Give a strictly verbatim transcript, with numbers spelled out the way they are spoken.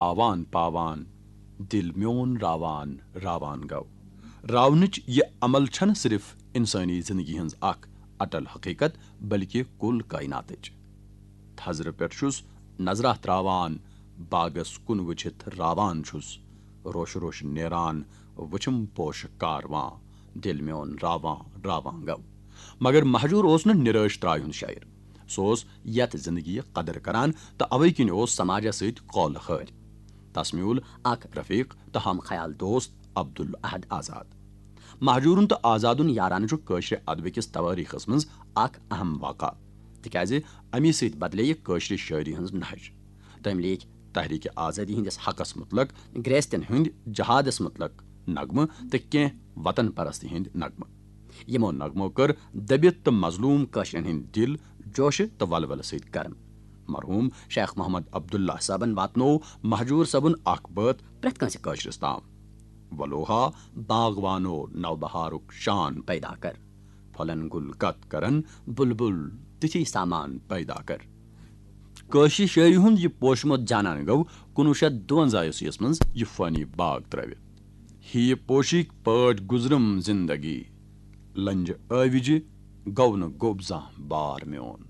آوان پاوان، دِل میون راوان راوان گوٚو۔ راونٕچ یہِ عمل چھَنہٕ صرف اِنسٲنی زندگی ہٕنٛز اکھ اٹل حقیقت، بلکہِ کُل کائناتٕچ۔ تھزرٕ پٮ۪ٹھ چھُس نظرہ تراوان، باغس کُن وٕچھِتھ راوان چھُس۔ روشہٕ روشہٕ نیران، وٕچھم پوشہٕ کاروان، دِل میون راوان راوان گوٚو۔ مگر مہجور اوس نہٕ نِرٲش ترٛایہِ ہُنٛد شٲعر۔ سُہ اوس یتھ زندگی قدر کران تہٕ اوے کِنۍ اوس سماجس سۭتۍ قولہٕ خٲرۍ۔ تس میوٗل اکھ رفیق تہٕ ہم خیال دوست عبدالاحد آزاد۔ مہجورُن تہٕ آزادُن یارانہٕ چھُ کٲشرِ ادبہٕ کِس توٲریخس منٛز اکھ اہم واقعہ، تِکیازِ امی سۭتۍ بدلے یہِ کٲشرِ شٲعری ہٕنٛز نہج۔ تٔمۍ لیکھۍ تحریک آزادی ہٕنٛدِس حقس متعلق، گرٛیستٮ۪ن ہٕنٛدۍ جہادس متعلق نغمہٕ تہٕ کینٛہہ وطن پرستی ہٕنٛدۍ نغمہٕ۔ یِمو نغمو کٔر دٔبِتھ تہٕ مظلوم کٲشرٮ۪ن ہٕنٛدۍ دِل جوشہٕ تہٕ ولولہٕ سۭتۍ گرم۔ مرحوم شیخ محمد عبداللہ صٲبن واتنوو مہجور صٲبُن اکھ بٲتھ پرٛٮ۪تھ کٲنٛسہِ کٲشرِس تام۔ ولوہا باغوانو نوبہارُک شان پیدا کر، پھۄلن گُل کتھ کرن بلبل تِتھی سامان پیدا کر۔ کٲشرِ شٲعری ہُنٛد یہِ پوشمُت جانان گوٚو کُنوُہ شیٚتھ دُوَنزاہ عیسویس منٛز یہِ فٲنی باغ ترٲوِتھ۔ ہی پوشِک پٲٹھۍ گُزرم زندگی، لنجہِ ٲوِجہِ گوٚو نہٕ گوٚب زانٛہہ بار میون۔